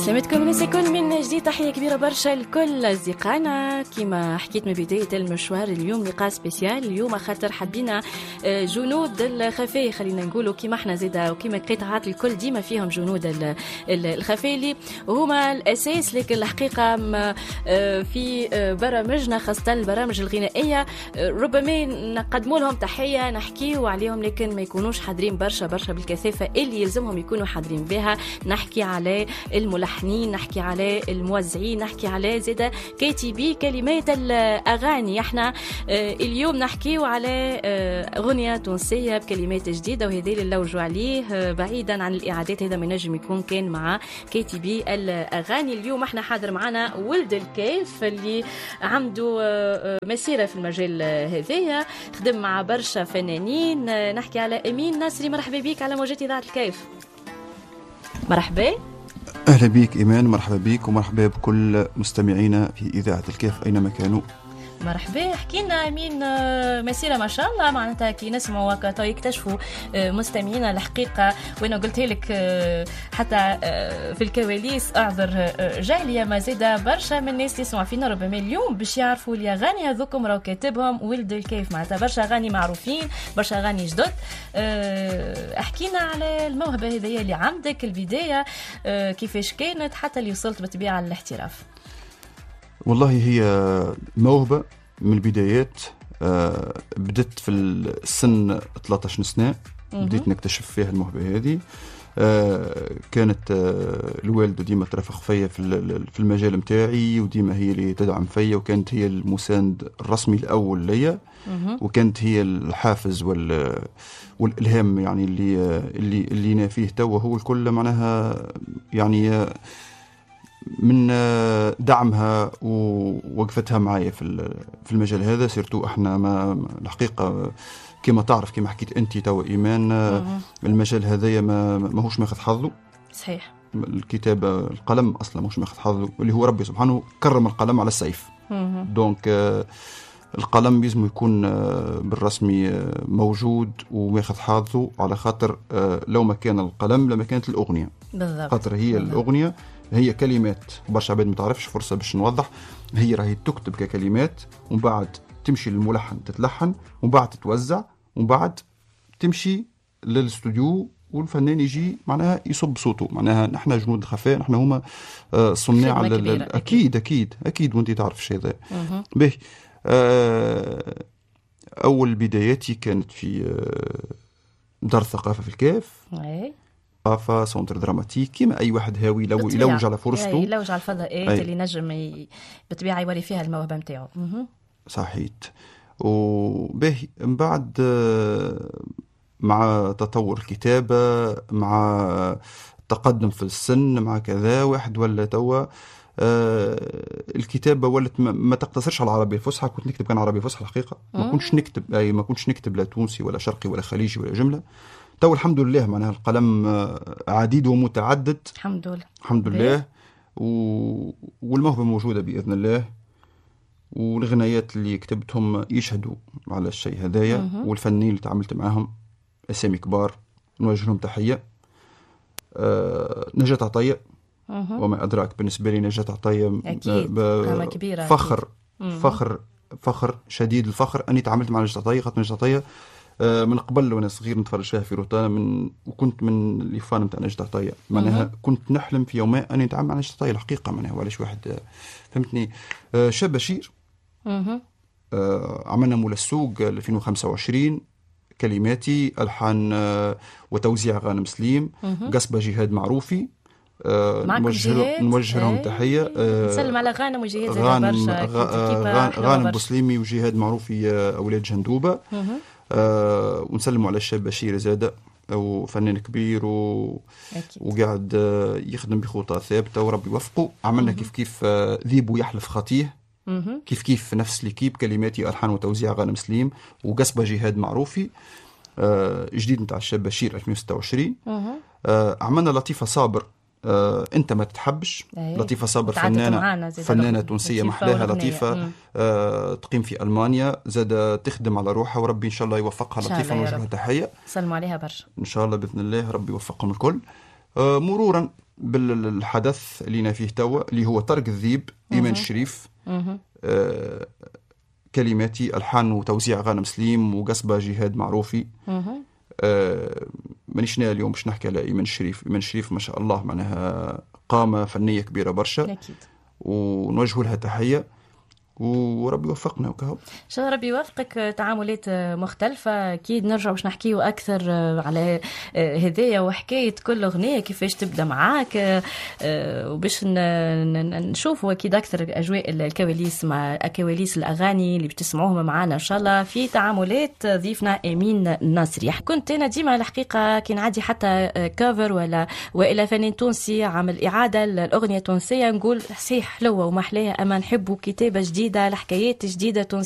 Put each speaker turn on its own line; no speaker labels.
عسلامتكم الناس الكل من جديد، تحية كبيرة برشا لكل أصدقائنا. كما حكيت من بداية المشوار، اليوم لقاء spécial اليوم خاطر حبينا جنود الخفاء، خلينا نقولوا كيما احنا زادا وكيما القطاعات الكل ديما فيهم جنود الخفاء اللي هما الأساس، لكن الحقيقة في برامجنا خاصة البرامج الغنائية ربما نقدموا لهم تحية نحكيو عليهم، لكن ما يكونوش حاضرين برشا برشا بالكثافة اللي يلزمهم يكونوا حاضرين بها. نحكي على الملحنين، نحكي على الموزعين، نحكي على زادا كاتبي كلمات الأغاني. احنا اليوم نحكيو على أغنية تونسية بكلمات جديدة، وهذا اللي نلوجوا عليه بعيدا عن الإعادات، هذا ما ينجم يكون كان مع كاتبي الأغاني. اليوم احنا حاضر معنا ولد الكاف اللي عنده مسيرة في المجال هذايا، خدم مع برشا فنانين. نحكي على أمين ناصري، مرحبا بك على موجات إذاعة الكاف. مرحبا.
أهلا بك إيمان، مرحبا بك ومرحبا بكل مستمعينا في إذاعة الكاف أينما كانوا.
مرحبا. احكي لنا امين، مسيره ما شاء الله، معناتها كي نسمعوا هكا يكتشفوا مستمعينا الحقيقه، وانا قلت لك حتى في الكواليس اعذر جهلي، ما زاد برشا من الناس اللي يسمعوا فينا ربما اليوم باش يعرفوا الاغاني هذوكم راهو كاتبهم ولد الكيف، معناتها برشا اغاني معروفين، برشا اغاني جدد. احكينا على الموهبة هذيا اللي عندك، البداية كيفاش كانت حتى اللي وصلت بالطبيعة للاحتراف.
والله هي موهبة من البدايات، بدت في السن 13 سنة، بديت نكتشف فيها الموهبة هذه. كانت الوالدة ديما ترافق فيا في المجال متاعي، وديما هي اللي تدعم فيا، وكانت هي المساند الرسمي الأول ليا، وكانت هي الحافز والإلهام، يعني اللي أنا فيه توا هو الكل، معناها يعني من دعمها ووقفتها معايا في المجال هذا. surtout احنا ما الحقيقة كما تعرف، كما حكيت انت تو ايمان، المجال هذايا ماهوش ماخذ حظه.
صحيح.
الكتابة، القلم اصلا ماهوش ماخذ حظه، اللي هو ربي سبحانه كرم القلم على السيف. donc القلم لازم يكون بالرسمي موجود وماخذ حظه، على خاطر لو ما كان القلم لما كانت الاغنية.
بالضبط.
خاطر هي بالضبط. الاغنية هي كلمات، برشا عباد ما تعرفش، فرصة باش نوضح، هي راهي تكتب ككلمات ومن بعد تمشي للملحن تتلحن، ومن بعد تتوزع، ومن بعد تمشي للاستوديو والفنان يجي معناها يصب صوته. معناها نحن جنود الخفاء، نحن هما صناع. اكيد اكيد اكيد، وانت تعرف الشيء هذا. باهي. اول بداياتي كانت في دار الثقافة في الكاف. ثقافة centre dramatique، كيما أي واحد هاوي يلوج على فرصته،
يلوج على الفضاءات اللي نجم بالطبيعة يوري فيها الموهبة نتاعو.
صحيت. وباهي من بعد مع تطور الكتابة، مع التقدم في السن، مع كذا واحد ولا توا الكتابة ولت ما تقتصرش على العربية الفصحى. كنت نكتب كان عربية فصحى الحقيقة، ما كنتش نكتب أي ما كنتش نكتب لا تونسي ولا شرقي ولا خليجي ولا جملة. تو الحمد لله معناها القلم عديد ومتعدد،
الحمد لله
الحمد لله، والموهبة موجودة بإذن الله، والغنايات اللي كتبتهم يشهدوا على الشيء هذايا. والفنانين اللي تعاملت معاهم أسامي كبار، نوجه لهم تحية. نجاة عطية، وما أدراك، بالنسبة لي نجاة عطية
أكيد كبيرة،
فخر فخر فخر شديد الفخر أني تعاملت مع نجاة عطية، خاطر نجاة عطية من قبل وانا صغير نتفرج فيها في روتانا، وكنت من les fans نتاع نجاة عطية. معناها كنت نحلم في يوم ما اني نتعامل مع نجاة عطية الحقيقة، معناها وعلاش واحد فهمتني. شاب بشير، عملنا مول السوق 2025، كلماتي الحان وتوزيع غانم سليم، قصبه جهاد معروفي، نوجه لهم تحية.
نسلم على غانم وجهاد، برشا
غانم بوسليمي وجهاد معروفي، اولاد جندوبه. ونسلموا على الشاب بشير زاده، وفنان كبير وقاعد يخدم بخطى ثابتة وربي يوفقه. عملنا كيف كيف ذيب ويحلف خطيه، كيف كيف نفس l'équipe، كلماتي الحان وتوزيع غانم سليم، وقصبه جهاد معروفي، جديد نتاع الشاب بشير 2026. عملنا لطيفة صابر، انت ما تتحبش. لطيفة صابر فنانة تونسية محلاها لطيفة، تقيم في المانيا، زاد تخدم على روحها وربي ان شاء الله يوفقها. لطيفة نوجه لها تحية،
سلموا عليها برشا
ان شاء الله باذن الله ربي يوفقهم الكل. مرورا بالحدث اللي أنا فيه توا، اللي هو طرق الذيب، ايمان الشريف. كلماتي، الحان وتوزيع غانم سليم، وقصبه جهاد معروفي. مانيش ناوي اليوم باش نحكي على ايمان الشريف. ايمان الشريف ما شاء الله معناها قامه فنية كبيرة برشا. ونوجه لها تحية وربي يوفقنا وكهو.
ان شاء الله ربي يوفقك. تعاملات مختلفة، أكيد نرجع باش نحكيو أكثر على هذايا وحكاية كل أغنية كيفاش تبدأ معاك، وباش نشوفوا أكيد أكثر أجواء الكواليس مع كواليس الأغاني اللي بتسمعوهم معنا إن شاء الله في تعاملات ضيفنا أمين الناصري. كنت أنا ديما الحقيقة كي نعدي حتى cover ولا وإلى فنان تونسي عمل إعادة الأغنية التونسية نقول صحيح حلوة ومحلاها، أما نحبوا كتابة جديدة، الحكايات جديدة تونسية.